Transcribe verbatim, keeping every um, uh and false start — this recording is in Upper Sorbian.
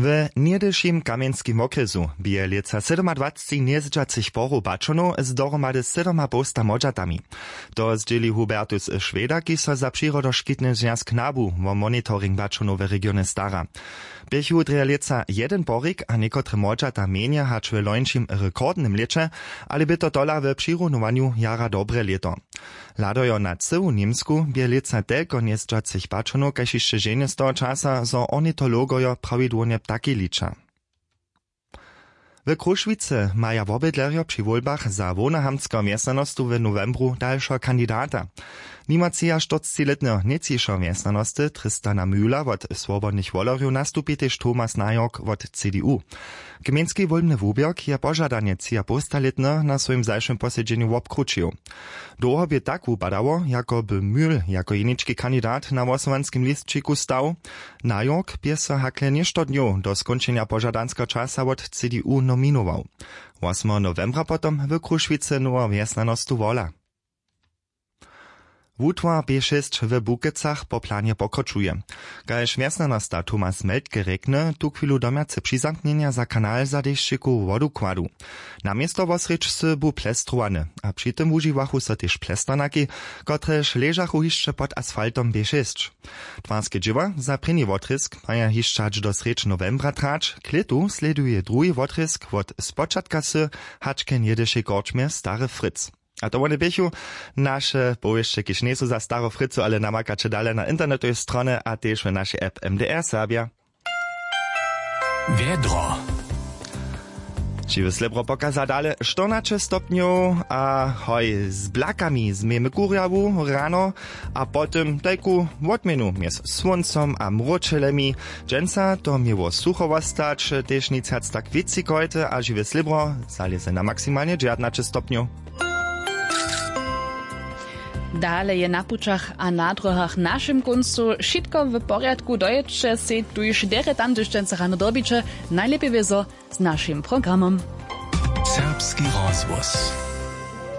W něhdyšim kamjenskim wokrjesu bě lětsa sydomadwacci njezdźacych porow bačonow z dohromady sydomapołsta młodźatami. To zdźěli Hubertus Šweda, kiž so za přirodoškitny zwjazk nabu wo monitoring bačonow w regionje stara. Běchu drje lětsa jedyn porik a někotre młodźata mjenje hač w lońšim rekordnym lěće, ale bě to tola w přirunowaniu jara dobre lěto. Hladojo na cyłu Němsku bě lětsa telko njezdźacych pačonow kaž hišće ženje z toho časa, zo ornitologojo prawidłownje ptaki liča. W Króšwicy maja wobydlerjo při wólbach za hłownohamtskeho wjesnjanostu w nowembru dalšeho kandidata. Nimo třiaštyrcciletneho nětčišeho wjesnjanosty Tristana Mühla wot Swobodnych wolerjow nastupi tež Thomas Najork wot C D U. Gmejnski wólbny wuběrk je požadanje třiapowstalětny na swojim zašłym posedźenju wobkrućił. Dołho bě tak wupadało, jako by Mühl jako jenički kandidat na hłosowanskim lisćiku stał. Najork bě so hakle něšto dnjow do skónčenja požadanskeho časa wot C D U nominował. Wosmeho nowembra potom w Krušwicy noweho wjesnjanostu wola. Wutwar P šěsć w Bukecach po planje pokročuje. Kaž wjesnjanosta Thomas Meltke rjekny, tuchwilu domjace přizamknjenja za kanal za dešćikowu wodukładu. Na město wosrjedź sy bu plestrowane, a při tym wužiwachu so tež plesternaki, kotrež ležachu hišće pod asfaltom P šěsć. Twarske dźěła za prěni wotrězk maja hišće hač do srjedź nowembra trać, klětu slěduje druhi wotrězk wot spočatka sy hač k njedyšej korčmje Stary Fritz. A to wone běchu naše powěsće, kiž njejsu za Staru Fricu, ale namakaće dale na internetowej stronje a tež w našej app M D R Serbja. Wjedro. Žiwy slěbro pokaza dale štyrnaće stopnjow a hoj z blakami změjemy kurjawu rano a po tym tajku wotměnu mjez słóncom a mróčelemi. Dźensa to měło sucho wostać, tež nic wjac tak wětřikojte a žiwe slěbro zalěze na maksimalnje dźewjatnaće stopnjow. Dale je na pućach a na dróhach w našim kóncu wšitko w porjadku, dojědće sej tuž derje tam, hdyž dźensa rano dyrbiće, najlěpje wězo z našim programom. Serbski rozhłos.